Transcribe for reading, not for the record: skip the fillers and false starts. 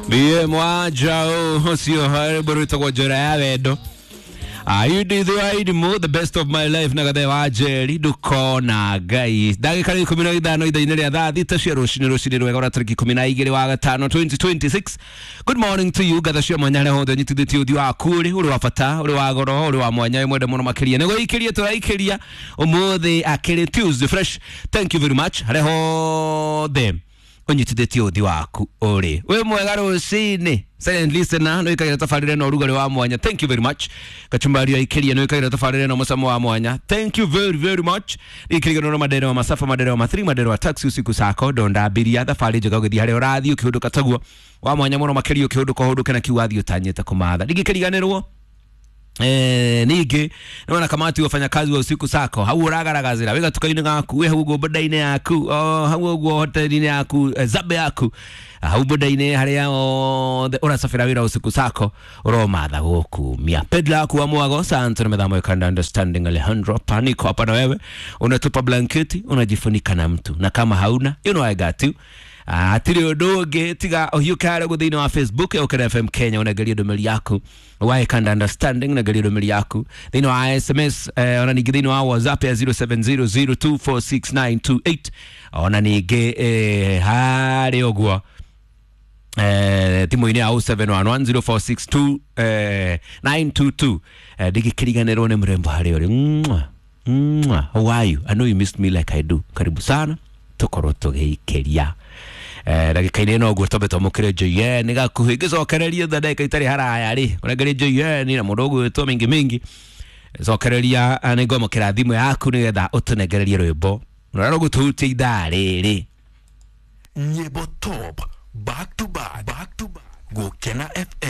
Ndiye mwajao ũcio rwĩmbo rwĩtagwo njĩra ya wendo. Ayudithiwaidimo the best of my life na gathe wa Njeri ndukona Ngai. Ndagĩka nĩ 15 ithaa-inĩ rĩa thaa 6 cia rũcinĩ, rũcinĩ rwega ũrĩa tarĩki 12 wa gatano 2026. Good morning to you, ngatho cia mwanya harĩa hothe ũnyitithĩtie ũthiũ waku ũrĩ ũrĩ wa bata, ũrĩ wa goro, ũrĩ wa mwanya, wĩ mwende mũno makĩria. Nĩguo ikĩrie tũraikĩria ũmũthĩ akĩrĩ Tuesday fresh. Thank you very much harĩa hothe ũnyitithĩtie ũthiũ waku ũrĩ wĩ mwega rũcinĩ. Silent listener nĩ wĩkagĩra tabarĩra na ũrugarĩ wa mwanya, thank you very much. Kachumbari aikĩria nĩ wĩkagĩra tabarĩra na mũcamo wa mwanya, thank you very very much. Ikĩriganĩrwo na madere wa masafa, madere wa mathiri, madere wa taxi usiku sako ndonda abiria thabarĩ njega ũgĩthiĩ harĩa ũrathiĩ ũkĩhũndũka taguo wa mwanya mũno makĩria ũkĩhũndũka ũhũndũke na kiu wathiĩ ũtanyĩte kũmatha. Ndingĩkĩriganĩrwo ningĩ nĩwona kamati wafanyakazi wa usiku sako hau ũragaragazĩra wĩ gatuka-inĩ gaku, wĩ hau ũguo boda-inĩ yaku, o hau ũguo hoteli-inĩ yaku, zabe yaku hau boda-inĩ harĩa othe ũracabĩra wĩra usiku sako ũromatha gũkumia pedla yaku wa mwago sante na methamo kanda understanding Alejandro paniko hapa na wewe unatupa blanketi unajifunika na mtu na kama hauna, you know I got you. Hatirĩ ũndũ ũngĩ tiga ũhiũke harĩa ũguo thĩinĩ wa Facebook ya Ũkĩra FM Kenya ũnengerie ndũmĩrĩri yaku wae kanda understanding ũnengerie ndũmĩrĩri yaku thĩinĩ wa SMS, ona ningĩ thĩinĩ wa WhatsApp ya 0700246928, ona ningĩ harĩa ũguo thimũ-inĩ ya 07110462 922. Ndigĩkĩriganĩrwo nĩ mũrembo harĩa ũrĩ. Mwah, mwah. How are you? I know you missed me like I do. Karibu sana tũkorwo tũgĩikĩria ndagĩka-inĩ ĩno ũguo twambe twamũkĩre JN gakuhĩ ngĩcokererie tha ndagĩka itarĩ haraya rĩ ũrengerie JN na mũndũ ũgwĩtwo mingi mingi cokereria, nĩ ngwamũkĩra thimũ yaku nĩgetha ũtũnengererie rwĩmbo rũrĩa rũgũtũhutia ithaa rĩrĩ. Nyimbo top back to back, back to back. Gukena FM.